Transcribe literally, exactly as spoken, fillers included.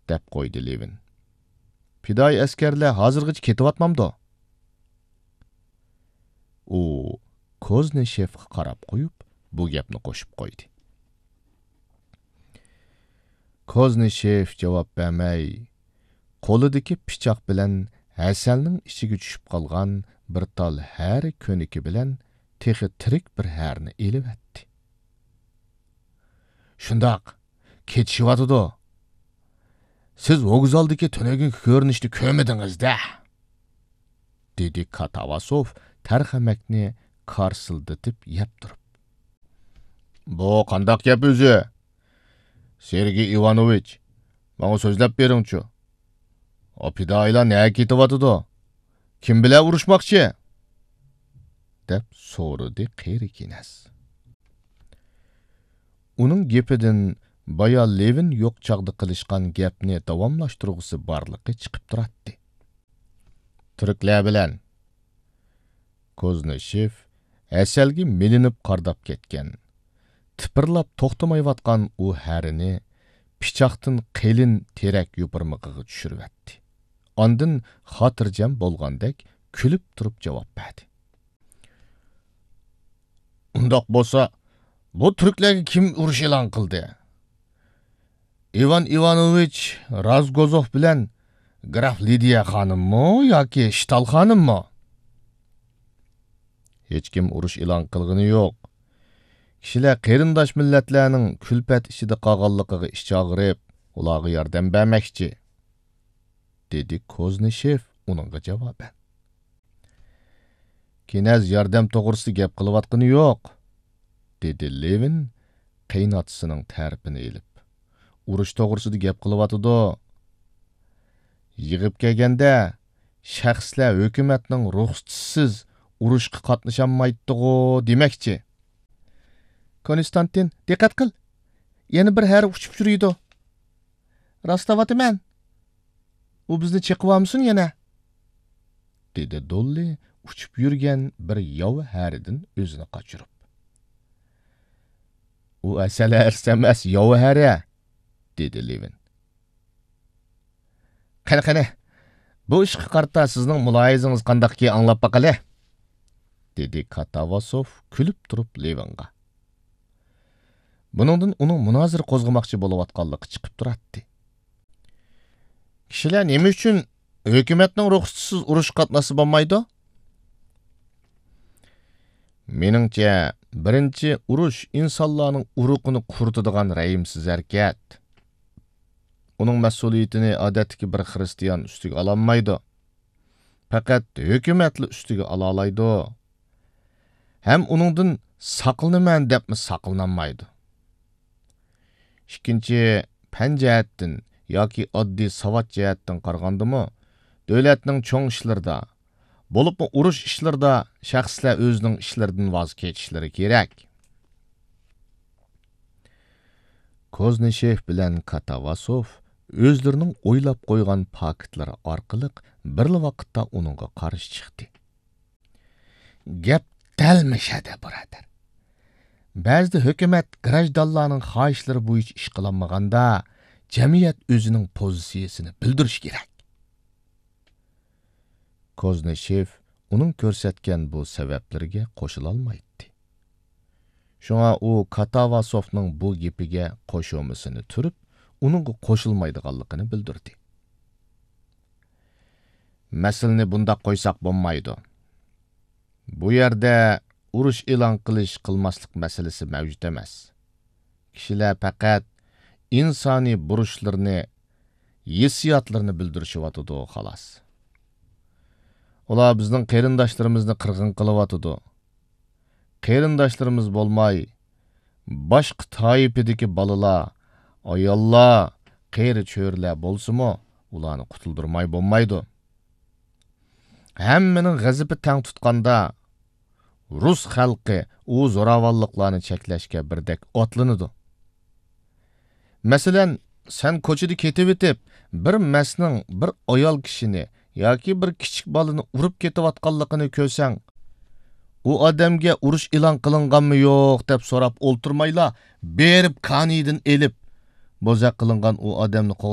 دەپ قويدى لېۋىن. پىدائىي ئەسكەرلەر ھازىرغىچە كېتىۋاتمامدۇ؟ ئۇ كوزنىشېفقا قاراپ قويۇپ، بۇ گەپنى قوشۇپ قويدى. كوزنىشېف جاۋاب بەرمەي، قولىدىكى پىچاق بىلەن ھەسەلنىڭ ئىچىگە چۈشۈپ قالغان بىر تال ھەرە كۆنىكى بىلەن تېخى تىرىك بىر ھەرىنى ئېلىۋەتتى. شۇنداق، كېتىشىۋاتىدۇ. سىز ۋوگزالدىكى تۈنۈگۈنكى كۆرۈنۈشنى كۆرمىدىڭىز-دە، دېدى كاتاۋاسوف تەرخەمەكنى كارسىلدىتىپ يەپ تۇرۇپ. بۇ قانداق گەپ ئۆزى؟ سېرگېي ئىۋانوۋىچ، ماڭا سۆزلەپ بېرىڭچۇ. ئۇ پىدائىيلار نەگە كېتىۋاتىدۇ؟ كىم بىلەن ئۇرۇشماقچى؟ دەپ سورىدى قېرى كىنەز. ئۇنىڭ گېپىدىن بايا لېۋىن يوق چاغدا قىلىشقان گەپنى داۋاملاشتۇرغۇسى بارلىقى چىقىپ تۇراتتى. تۈركلەر بىلەن. كوزنىشېف ھەسەلگە مىلىنىپ قارىداپ كەتكەن، تىپىرلاپ توختىمايۋاتقان ئۇ ھەرىنى پىچاقتىن قېلىن تېرەك يوپۇرمىقىغا چۈشۈرۈۋەتتى. ئاندىن خاتىرجەم بولغاندەك كۈلۈپ تۇرۇپ جاۋاب بەردى. ئۇنداق بولسا، بۇ تۈركلەرگە كىم ئۇرۇش ئېلان قىلدى؟ ئىۋان ئىۋانوۋىچ رازگوزوف بىلەن گراف لىدىيە خانىممۇ ياكى شتال خانىممۇ؟ ھېچكىم ئۇرۇش ئېلان قىلغىنى يوق. كىشىلەر قېرىنداش مىللەتلەرنىڭ كۈلپەت ئىچىدە قالغانلىقىغا ئىچ ئاغرىپ، ئۇلارغا ياردەم بەرمەكچى، دېدى كوزنىشېف ئۇنىڭغا جاۋابەن. كىنەز ياردەم توغرىسىدا گەپ قىلىۋاتقىنى يوق، دېدى لېۋىن قېيىنئاتىسىنىڭ تەرىپىنى ئېلىپ. ئۇرۇش توغرىسىدا گەپ قىلىۋاتىدۇ. يىغىپ كەلگەندە، شەخسلەر ھۆكۈمەتنىڭ رۇخسىتىسىز ئۇرۇشقا قاتنىشالمايتتىغۇ دېمەكچى. كونستانتىن، دىققەت قىل! يەنە بىر ھەرە ئۇچۇپ يۈرىدۇ. راستلاۋاتىمەن. ئۇ بىزنى چېقىۋالمىسۇن يەنە، دېدى دوللى ئۇچۇپ يۈرگەن بىر ياۋا ھەرىدىن ئۆزىنى قاچۇرۇپ. ئۇ ھەسەل ھەرىسى ئەمەس، ياۋا ھەرە، دېدى لېۋىن. قېنى، قېنى، بۇ ئىشقا قارىتا سىزنىڭ مۇلاھىزىڭىز قانداقكى، ئاڭلاپ باقايلى، دېدى كاتاۋاسوف كۈلۈپ تۇرۇپ لېۋىنغا. بۇنىڭدىن ئۇنىڭ مۇنازىرە قوزغىماقچى بولۇۋاتقانلىقى چىقىپ تۇراتتى. كىشىلەر نېمە ئۈچۈن ھۆكۈمەتنىڭ رۇخسىتىسىز ئۇرۇشقا قاتناشسا بولمايدۇ؟ مېنىڭچە، بىرىنچى، ئۇرۇش ئىنسانلارنىڭ ئۇرۇقىنى قۇرۇتىدىغان رەھىمسىز ھەرىكەت. ئۇنىڭ مەسئۇلىيىتىنى ئادەتتىكى بىر خىرىستىيان ئۈستىگە ئالالمايدۇ. پەقەت ھۆكۈمەتلا ئۈستىگە ئالالايدۇ. ھەم ئۇنىڭدىن ساقلىنىمەن دەپمۇ ساقلىنالمايدۇ. ئىككىنچى، پەن جەھەتتىن ياكى ئاددىي ساۋات جەھەتتىن قارىغاندىمۇ، دۆلەتنىڭ چوڭ ئىشلىرىدا، بولۇپمۇ ئۇرۇش ئىشلىرىدا شەخسلەر ئۆزىنىڭ ئىشلىرىدىن ۋاز كېچىشلىرى كېرەك. كوزنىشېف بىلەن كاتاۋاسوف ئۆزلىرىنىڭ ئويلاپ قويغان پاكىتلىرى ئارقىلىق بىرلا ۋاقىتتا ئۇنىڭغا قارشى چىقتى. گەپ دەل مۇشەدە، بۇرادەر. بەزىدە ھۆكۈمەت گراژدانلارنىڭ خاھىشلىرى بويىچە ئىش قىلالمىغاندا، جەمئىيەت ئۆزىنىڭ پوزىتسىيىسىنى بىلدۈرۈشى كېرەك. كوزنىشېف ئۇنىڭ كۆرسەتكەن بۇ سەۋەبلىرىگە قوشۇلالمايتتى. شۇڭا ئۇ كاتاۋاسوفنىڭ بۇ گېپىگە قوشۇمىسىنى تۈرۈپ، ئۇنىڭغا قوشۇلمايدىغانلىقىنى بىلدۈردى. مەسىلىنى بۇنداق قويساق بولمايدۇ. بۇ يەردە ئۇرۇش ئېلان قىلىش، قىلماسلىق مەسىلىسى مەۋجۇت ئەمەس. كىشىلەر پەقەت ئىنسانىي بۇرچلىرىنى، ھېسسىياتلىرىنى بىلدۈرۈشۈۋاتىدۇ، خالاس. ئۇلار بىزنىڭ قېرىنداشلىرىمىزنى قىرغىن قىلىۋاتىدۇ. قېرىنداشلىرىمىز بولماي، باشقا تائىپىدىكى بالىلار، ئاياللار، قېرى چۆرىلەر بولسىمۇ، ئۇلارنى قۇتۇلدۇرماي بولمايدۇ. ھەممىنىڭ غەزىپى تەڭ تۇتقاندا، رۇس خەلقى ئۇ زوراۋانلىقلارنى چەكلەشكە بىردەك ئاتلىنىدۇ. مەسىلەن، سەن كوچىدا كېتىۋېتىپ، بىر مەستنىڭ بىر ئايال كىشىنى ياكى بىر كىچىك بالىنى ئۇرۇپ كېتىۋاتقانلىقىنى كۆرسەڭ، ئۇ ئادەمگە ئۇرۇش ئېلان قىلىنغانمۇ يوق دەپ سوراپ ئولتۇرمايلا، بېرىپ كانىيىدىن ئېلىپ، بوزەك قىلىنغان ئۇ ئادەمنى قوغداپ